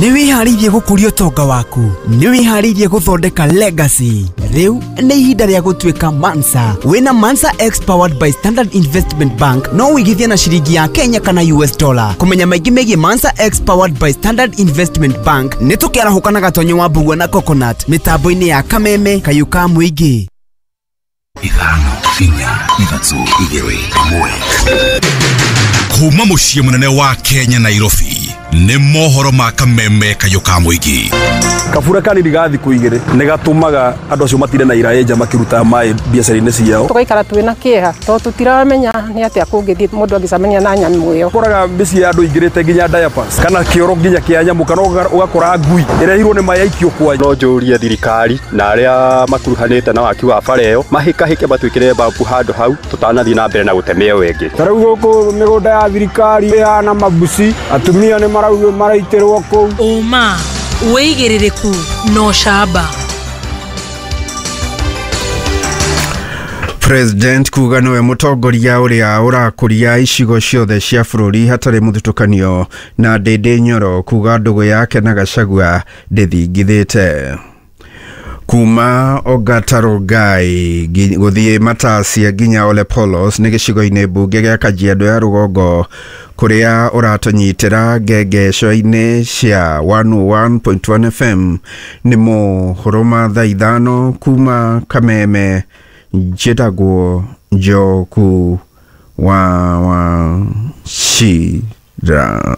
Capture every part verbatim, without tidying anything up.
Nĩ wĩharĩirie gũkũria ũtonga waku? Nĩ wĩharĩirie gũthondeka legacy? Rĩu nĩ ihinda rĩa gũtuĩka Mansa. Wĩna Mansa X powered by Standard Investment Bank no wĩigithie na ciringi ya Kenya kana U S dollar. Kũmenya maingĩ megiĩ Mansa X powered by Standard Investment Bank, nĩ tũkĩarahũka na Gatonyo wa Mbugua na Coconut mĩtambo-inĩ ya Kameme Kayũ ka Mũingĩ. Ithano, inya, ithatũ, igĩrĩ, ĩmwe. Kuma mũciĩ mũnene wa Kenya, Nairobi, nĩ mohoro ma Kameme Kayũ ka Mũingĩ. Kabura kanini ga thikũ igĩrĩ nĩ gatũmaga andũ acio matire na iraĩ nja makĩruta maĩ biacara-inĩ ciao. Tũgaikara twĩna kĩeha tondũ tũtiramenya nĩ atĩa kũngĩthiĩ mũndũ angĩcemania na nyamũ ĩyo. Ũkoraga mĩciĩ ya andũ ingĩrĩte nginya diapers kana kĩoro nginya kĩa nyamũ, kana ũgakora ngui ĩrehirwo nĩ maĩ aikio kwa. No njũrie thirikari na arĩa makuruhanĩte na waki wa bara ĩyo mahĩkahĩke matwĩkĩre bambu handũ hau tũtanathiĩ na mbere na gũteme ĩyo ĩngĩ. Ta rĩu gũkũ mĩgũnda ya thirikari ĩhana mabuci, atumia nĩ maraugio maraitĩrwo kũu. Ũma, wĩigĩrĩrĩku na ũcamba. President kuga nĩwe mũtongoria ũrĩa ũrakũria icigo ciothe cia bũrũri hatarĩ mũthutũkanio, na Ndĩndĩ Nyoro kuga ndũgũ yake na Gachagua ndĩthingithĩte. Kuma Ongata Rongai gũthiĩ Matasia nginya Ole Polos nĩ gĩcigo-inĩ mbunge gĩa Kajiado ya Rũgongo, kũrĩa ũratũnyitĩra ngengeco-inĩ cia one oh one point one F M. Nĩ mohoro ma thaa ithano kuma Kameme. Njĩtagwo Njoku wa Wachira.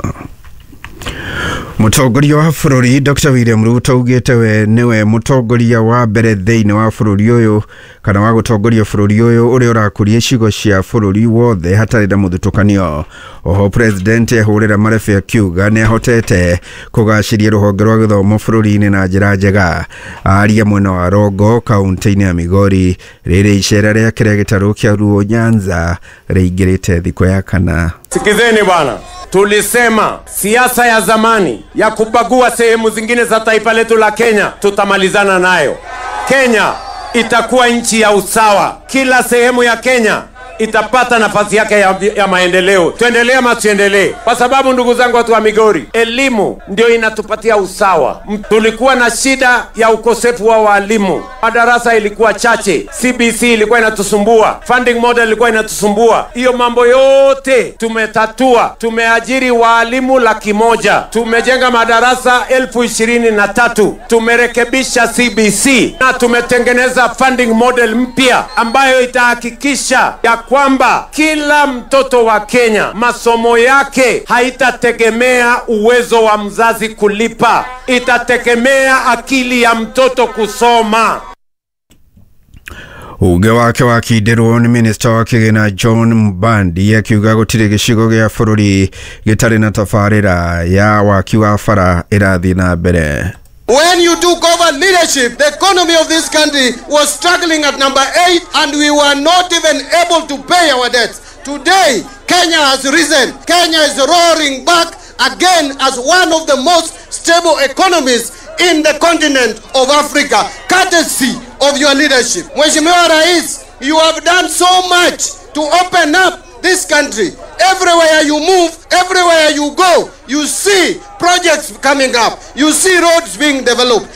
Mũtongoria wa bũrũri Doctor William Ruto augĩte we nĩwe mũtongoria wa mbere thĩinĩ wa bũrũri ũyũ, kana wa gũtongoria bũrũri ũyũ, ũrĩa ũrakũria icigo cia bũrũri wothe hatarĩ na mũthutũkanio. Oho president ehũrĩra marebe akiuga nĩ ahotete kũgacĩria rũhonge rwa gĩthomo bũrũri-inĩ na njĩra njega. Aria mwena wa Rongo, kaunti-inĩ ya Migori, rĩrĩ icera rĩake rĩa gĩtarũ kĩa Luo Nyanza rĩingĩrĩte thikũ ya kana. Sikizeni bwana, tulisema siasa ya zamani ya kubagua sehemu zingine za taifa letu la Kenya tutamalizana nayo. Kenya itakuwa nchi ya usawa. Kila sehemu ya Kenya itapata nafasi yake ya, ya maendeleo. Tuendelee ama tuendelee? Kwa sababu, ndugu zangu watu wa Migori, elimu ndio inatupatia usawa. Tulikuwa na shida ya ukosefu wa walimu, madarasa ilikuwa chache, C B C ilikuwa inatusumbua, funding model ilikuwa inatusumbua. Hiyo mambo yote tumetatua. Tumeajiri waalimu laki moja, tumejenga madarasa elfu ishirini na tatu, tumerekebisha C B C na tumetengeneza funding model mpya ambayo itahakikisha ya kwamba kila mtoto wa Kenya masomo yake haitategemea uwezo wa mzazi kulipa, itategemea akili ya mtoto kusoma. Uge wake wakindĩrwo nĩ minista wa kĩgĩna John Mbadi, akiuga gũtirĩ gĩcigo gĩa bũrũri gĩtarĩ na tabarĩra ya waki wa bara ĩrathiĩ na mbere. When you took over leadership, the economy of this country was struggling at number eight and we were not even able to pay our debts. Today, Kenya has risen. Kenya is roaring back again as one of the most stable economies in the continent of Africa, courtesy of your leadership. Mheshimiwa Rais, you have done so much to open up this country. Everywhere you move, everywhere you go, you see projects coming up, you see roads being developed.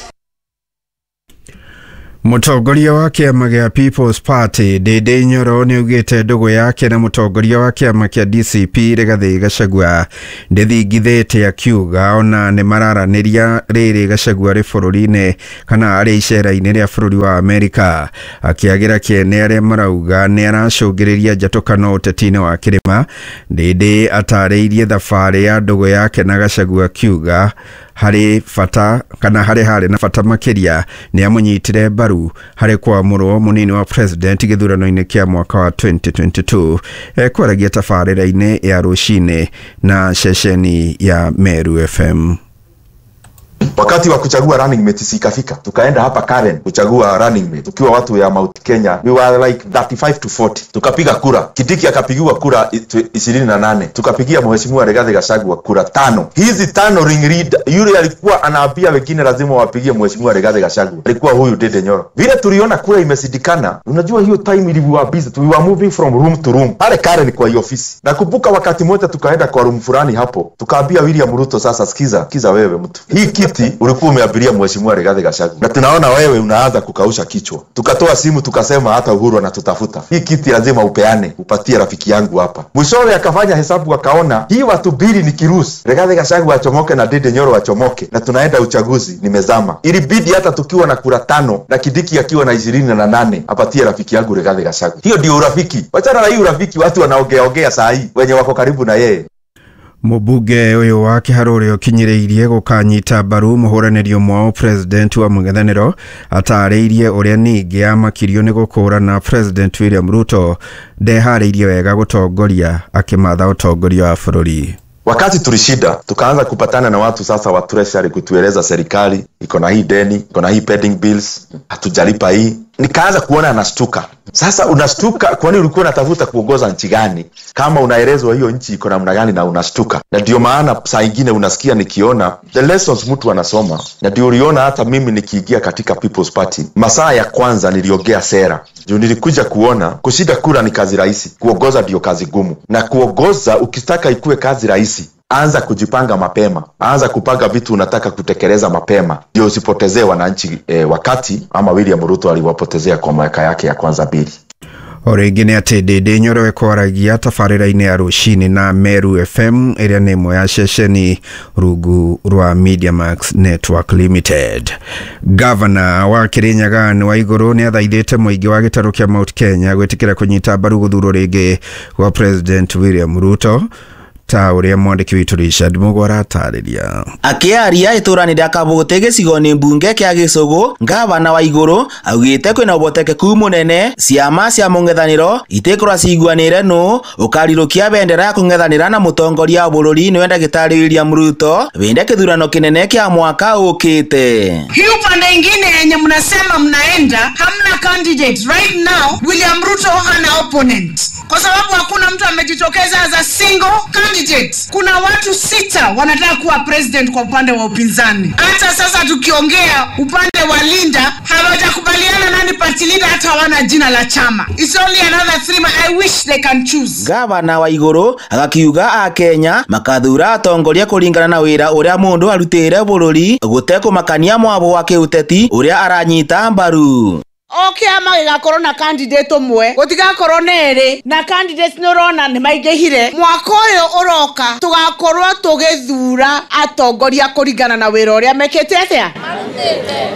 Mũtongoria wa kĩama gĩa People's Party Ndĩndĩ Nyoro nĩ augĩte ndũgũ yake na mũtongoria wa kĩama kĩa D C P Rigathĩ Gachagua ndĩthingithĩte, akiuga ona nĩ mararanĩria rĩrĩ Gachagua arĩ bũrũri-inĩ kana arĩ icera-inĩ rĩa bũrũri wa Amerika, akĩagĩra kĩene arĩa marauga nĩ aracũngĩrĩria njatũkano ũteti-inĩ wa kĩrĩma. Ndĩndĩ atarĩirie thabarĩ ya ndũgũ yake na Gachagua, akiuga harĩ bata kana harĩ harĩ na bata makĩria nĩ amũnyitire mbaru harĩ kwamũrwo mũnini wa president gĩthurano-inĩ kĩa mwaka wa twenty twenty-two. Ekwaragia tabarĩra-inĩ ya rũcinĩ na ceceni ya Meru F M. Wakati wa kuchagua running mate sikafika, tukaenda hapa Karen kuchagua running mate tukiwa watu ya Mount Kenya, we were like thirty-five to forty. Tukapiga kura, Kindiki akapigiwa kura ishirini na nane, tukapigia Mheshimiwa Rigathi Gachagua kura tano. Hizi tano ring leader yule alikuwa anaambia wengine lazima wapigie Mheshimiwa Rigathi Gachagua, alikuwa huyu Ndindi Nyoro. Vile tuliona kura imesidikana, unajua hiyo time ilikuwa busy, we were moving from room to room pale Karen kwa hiyo ofisi. Nakumbuka wakati mmoja tukaenda kwa room fulani hapo, tukaambia William Ruto, sasa sikiza, sikiza wewe mtu, hii kiti ulikuwa umeabiria Mheshimiwa Rigathi Gachagua na tunaona wewe unaanza kukausha kichwa. Tukatoa simu tukasema hata Uhuru anatutafuta, hii kiti lazima upeane, upatie rafiki yangu hapa. Mwishowe akafanya hesabu akaona hii watu mbili ni kirusi, Rigathi Gachagua achomoke na Ndindi Nyoro achomoke, na tunaenda uchaguzi nimezama. Ilibidi hata tukiwa na kura tano na Kindiki akiwa na ishirini na nane apatie rafiki yangu Rigathi Gachagua. Hiyo ndio urafiki. Wachana na hii urafiki watu wanaongea ongea saa hii wenye wako karibu na yeye. Mũmbunge ũyũ wa Kĩharũ ũrĩa ũkinyĩrĩirie gũkanyita mbaru mũhũranĩri ũmwe wa president wa mũng'ethanĩro atarĩirie ũrĩa ningĩ amakirio nĩ gũkũrana President William Ruto ndeharĩirie wega gũtongoria akĩmatha ũtongoria wa bũrũri. Wakati tulishida tukaanza kupatana na watu sasa wa treasury kutueleza serikali iko na hii deni, iko na hii pending bills, hatujalipa hii. Nikaanza kuona anashtuka. Sasa unashtuka kwani ulikuwa unatafuta kuongoza nchi gani? Kama unaelezwa hiyo nchi iko namna gani na unashtuka. Na ndio maana saa nyingine unasikia nikiona the lessons mtu anasoma. Na ndio uliona hata mimi nikiingia katika People's Party, masaa ya kwanza niliongea sera. Ndio nilikuja kuona kushinda kura ni kazi rahisi, kuongoza ndio kazi gumu. Na kuongoza ukitaka ikue kazi rahisi, anza kujipanga mapema, anza kupanga vitu unataka kutekeleza mapema, ndio usipotezee wananchi eh, wakati ama William Ruto aliwapotezea kwa miaka yake ya kwanza mbili. O rĩngĩ nĩ atĩ Ndindi Nyoro ĩkwaragia tabarĩra-inĩ ya rũcinĩ na Meru F M ĩrĩa nĩ ĩmwe ya ceceni rungu rwa Mediamax Network Limited. Gavana wa Kirinyaga Anne Waiguru nĩ athaithĩte mũingĩ wa gĩtarũ kĩa Mount Kenya gwĩtĩkĩra kũnyita mbaru gũthurwo rĩngĩ gwa President William Ruto ta ũrĩa mwandĩki witũ Richard Mũgo aratarĩria. Akĩaria itũra-inĩ rĩa Kabũte gĩcigo-inĩ mbunge kĩa Gĩcũgũ, gavana Waiguru augĩte kwĩna ũhotekeku mũnene ciama cia mũng'ethanĩro itikorwo ciguanĩire nũ ũkarirũkia bendera ya kũng'ethanĩra na mũtongoria wa bũrũri nĩwe ndagĩtarĩ William Ruto wĩnde kĩthurano kĩnene kĩa mwaka ũkĩte. Hii upande ingine yenye mnasema mnaenda hamna candidate right now. William Ruto hana opponent kwa sababu hakuna mtu amejitokeza as a single candidate. Kuna watu sita wanataka kuwa president kwa upande wa upinzani. Hata sasa tukiongea upande wa Linda hawajakubaliana nani party leader, hata hawana jina la chama. It's only another three months. I wish they can choose. Gavana Waiguru agakiuga a Kenya makathura atongoria kũringana na wĩra ũrĩa mũndũ arutĩire bũrũri gũtekũmakania mwabo wa kĩũteti ũrĩa aranyita mbaru. O kĩama gĩgakorwo na candidate ũmwe, gũtigakorwo na erĩ, na candidates nĩ ũrona nĩ maingĩhire. Mwaka ũyũ ũroka tũgakorwo tũgĩthura atongoria kũringana na wĩra ũrĩa mekĩte atĩa,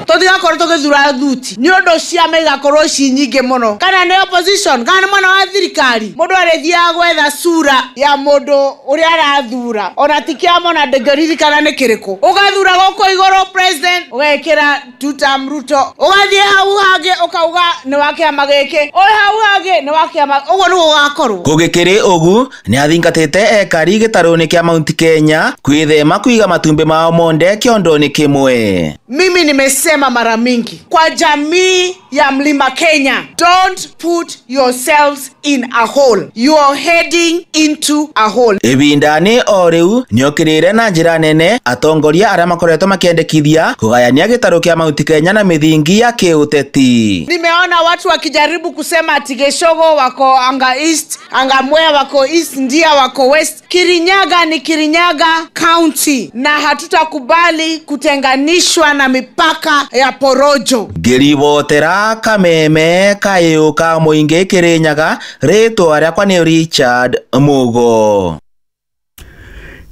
tũtigakorwo tũgĩthura thuti nĩ ũndũ ciama igakorwo ci nyingĩ mũno, kana nĩ opposition kana nĩ mwena wa thirikari. Mũndũ arĩthiaga gwetha sura ya mũndũ ũrĩa arathura, ona ti kĩama ona ndĩngĩririkana nĩ kĩrĩkũ. Ũgathura gũkũ igũrũ president ũgekĩra two term Ruto, ũgathiĩ hau hangĩ ũkauga nĩ wa kĩama gĩkĩ, ũyũ hau hangĩ nĩ wa kĩama, ũguo nĩguo gũgakorwo. Gũgĩkĩrĩ ũgu nĩ athingatĩte ekari gĩtarũ-inĩ kĩa Mount Kenya kwĩthema kũiga matumbĩ mao monde kĩondo-inĩ kĩmwe. Mimi nimesema mara mingi kwa jamii ya Mlima Kenya, don't put yourselves in a hole. You are heading into a hole. Ibindani o rĩu nĩokĩrĩire na njĩra nene atongoria arĩa makoretwo makĩendekithia kũgayania gĩtarũ kĩa Mount Kenya na mĩthingi ya kĩũteti. Nimeona watu wakijaribu kusema ati Gĩcũgũ wako anga East, anga Mwea wako East, Ndia wako West. Kirinyaga ni Kirinyaga County na hatutakubali kutenganishwa na mipaka ya porojo. Ngĩribotera kameme kayũ ka mũingĩ Kirinyaga, rĩtwa rĩakwa nĩ Richard Mũgo.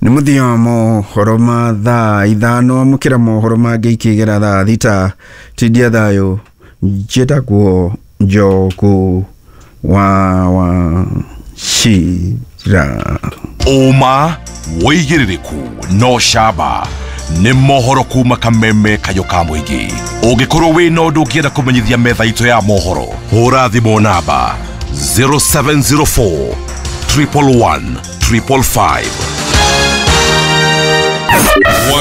Nĩ mũthia wa mohoro ma thaa ithano, amũkĩra mohoro mangĩ ikĩgera thaa thita. Tindia thayũ, njĩtagwo Njogu wa Wachira. Ũma wĩigĩrĩrĩku no camba nĩ mohoro kuma kameme kayo ka mũingĩ. Ũngĩkorwo wĩna ũndũ ũngĩenda kũmenyithia metha itũ ya mohoro, hũra thimũ namba zero seven zero four triple one triple five.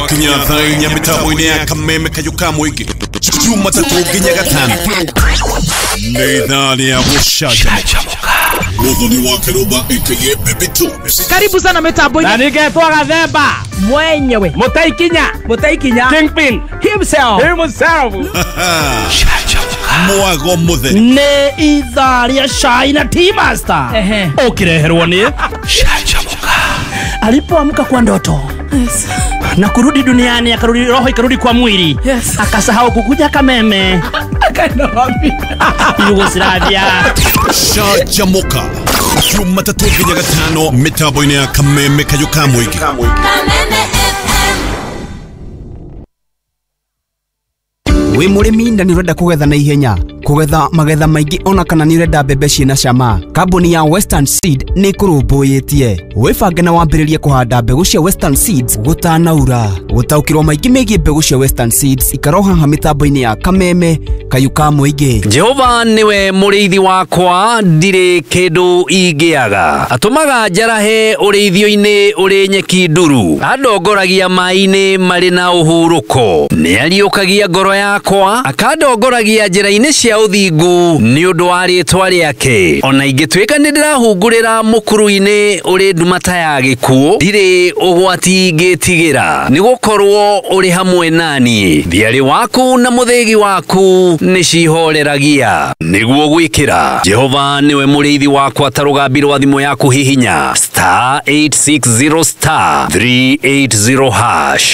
Gwakinya thaa inya mĩtambo-inĩ ya Kameme Kayũ ka Mũingĩ, Jumatatũ nginya Gatano, nĩ ithaa rĩa gũcanjamũka. Muthoni wa Kĩrũmba aka Baby Two. Karibu sana mitambo-inĩ. Na ningetwo Gathemba mwenyewe, Mũtaikinya, Mũtaikinya Kingpin himself, himself. Mwago mũtheri nĩ ithaa rĩa cai na tea master ũkĩreherwo nĩ Canjamũka. Alipoamka kwa ndoto, yes, na kurudi duniani, akarudi roho ikarudi kwa mwili, yes, akasahau kukuja Kameme, akaenda wapi? Yugoslavia. Canjamũka Jumatatũ nginya Gatano mĩtambo-inĩ ya Kameme Kayũ ka Mũingĩ. Kameme F M. Wĩ mũrĩmi na nĩ ũrenda kũgetha na ihenya, kũgetha magetha maingĩ ona kana nĩ ũrenda mbembe ciĩna cama, kambuni ya Western Seed nĩ ĩkũrũmbũyĩtie. Wĩbange na wambĩrĩrie kũhanda mbegũ cia Western Seeds gũtanaura. Gũtaũkĩrwo maingĩ megiĩ mbegũ cia Western Seeds ikara haha mĩtambo-inĩ ya Kameme Kayũ ka Mũingĩ. Jehova niwe mũrĩithi wakwa, ndirĩ kĩndũ ingĩaga. Atũmaga njarahe ũrĩithio-inĩ ũrĩ nyeki nduru, andongoragia maĩ-inĩ marĩ na ũhurũko. Nĩariũkagia ngoro yakwa, akandongoragia njĩra-inĩ cia ũthingu nĩ ũndũ wa rĩtwa rĩake. Ona ingĩtuĩka nĩ ndĩrahungurĩra mũkuru-inĩ ũrĩ nduma ta ya gĩkuũ, ndirĩ ũgwati ingĩtigĩra, nĩgũkorwo ũrĩ hamwe nani. Thiarĩ waku na mũthĩgi waku nĩcihoreragia. Nĩguo gwĩkĩra Jehova nĩwe mũrĩithi wakwa ta rũgambi rwa thimũ yaku hihinya star eight six zero star three eight zero hash.